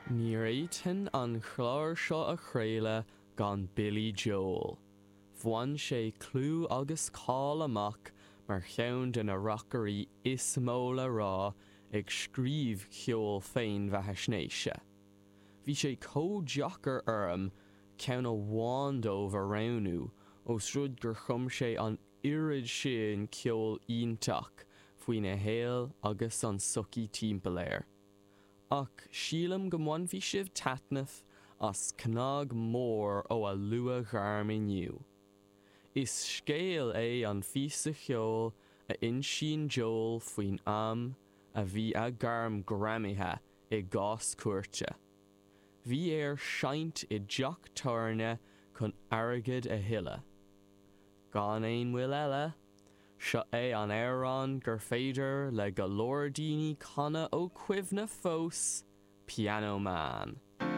Ní fhéadfainn an clár seo a chraoladh gan Billy Joel. Bhain sé clú agus cáil amach mar cheann de na rocairí is mó le rá ag scríobh ceol féinbheathaisnéise. Bhí sé chomh deacair orm ceann amháin dóibh a roghnú ós rud gur chum sé an oiread sin ceol iontach faoina shaol agus an sochaí timpeall air. Ach sílim go mbainfidh sibh taitneamh as cnag mór ó a luathghairm inniu. Is scéal é an phíosa cheoil a insíonn Joel faoin am a bhí a ghairm greamaithe i gcás cúirte. Bhí air seinnt i dteach tábhairne chun airgead a thuilleadh. Gan aon mhoill eile, seo é an amhrán gur féidir le go leor daoine canadh ó chuimhne fós, Piano Man.